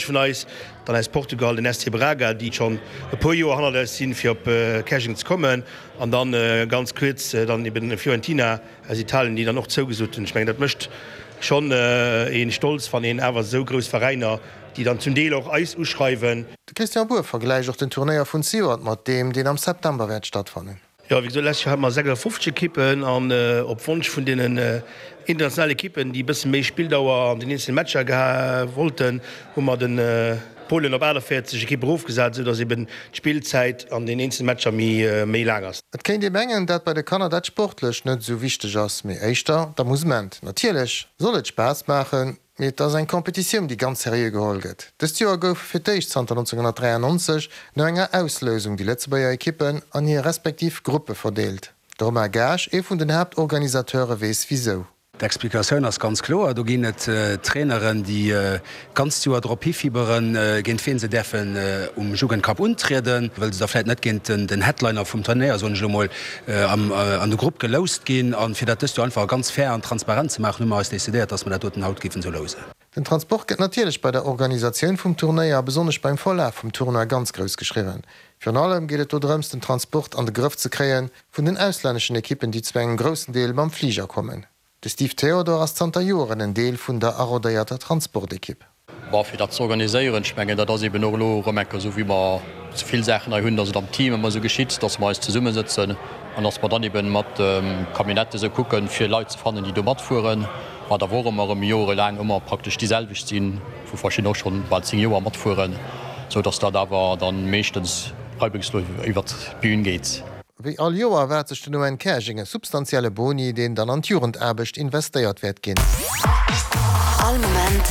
Vun eis, dann aus Portugal den SC Braga, déi schonn e puer Joer hannert eis sinn, fir op Käerjeng ze kommen, an dann ganz kuerz dann eben Fiorentina aus Italien, déi dann och zougesot hunn. Ech mengen, dat mécht schonn ee stolz, wann een awer esou grouss Veräiner, déi dann zum Deel och eis uschreiwen. De Christian Bour vergläicht och den Turnéier vun zejoert mat deem, deen am September wäert stattfannen. Jo, wéi gesot, lescht Joer hate mer 56 Ekippen an op Wonsch vun deenen internationalen Ekippen, déi e bësse méi Spilldauer an den eenzele Matcher geha wollten, hu mer de Polen op 48 Ekippe erofgesat, esou datt eben d'Spillzäit an den eenzele Matcher méi méi laang ass. Et kéint ee mengen, dat bei de Kanner dat Sportlecht net esou wichteg ass, mee éischter d'Amusement. Natierlech soll et Spaass maachen, Mee et ass eng Competitioun, déi ganz seriö geholl gëtt. Dëst Joer goufe fir d'éischt zanter 1993 no enger Auslousung déi Lëtzebuerger Ekippen an hir respektiv Gruppe verdeelt. De Romain Gaasch, ee vun den Haaptorganisateure, weess wisou. D'Explikatioun ass ganz kloer, Do ginn et Traineren, déi d'ganzt Joer drop hifibberen, géint wien se däerfen um Jugendcup untrieden, wëll se da vläit net géint den Headliner vum Turnéier, soen ech elo mol, an de Grupp geloust ginn. A fir dat dëst Joer einfach ganz fair an transparent ze maachen, hu mer eis decidéiert, dass mer dat doten haut géifen esou lousen. Den Transport gëtt natierlech bei der Organisatioun vum Turnéier a besonnesch beim Verlaf vum Tournoi ganz grouss geschriwwen. Virun allem geet et do drëms, den Transport an de Grëff ze kréie vun den auslänneschen Ekippen, déi zu engem groussen Deel mam Fliger kommen. De Steve Theodor ass zanter Joeren en Deel vun der arodéierter Transportekipp. Bon, fir dat ze organiséieren, ech mengen, dat ass eben och elo erëm eng Kéier esou, wéi mer esou vill Saachen hei hunn, dass et am Team ëmmer esou geschitt, dass mer eis zesummesëtzen an dass mer dann eben mat de Camionnette esou kucken, fir Leit ze fannen, déi do matfueren, wat awer och ëmmer erëm jorelaang ëmmer praktesch déi selwecht sinn, wou verschidden och schonn bal 10 Joer matfueren, esou dass dat awer dann meeschtens reibungslos iwwert d'Bühn geet. Wéi all Joer erwaart sech den ON Käerjeng e substantielle Boni, deen dann an d'Jugendaarbecht investéiert wäert ginn.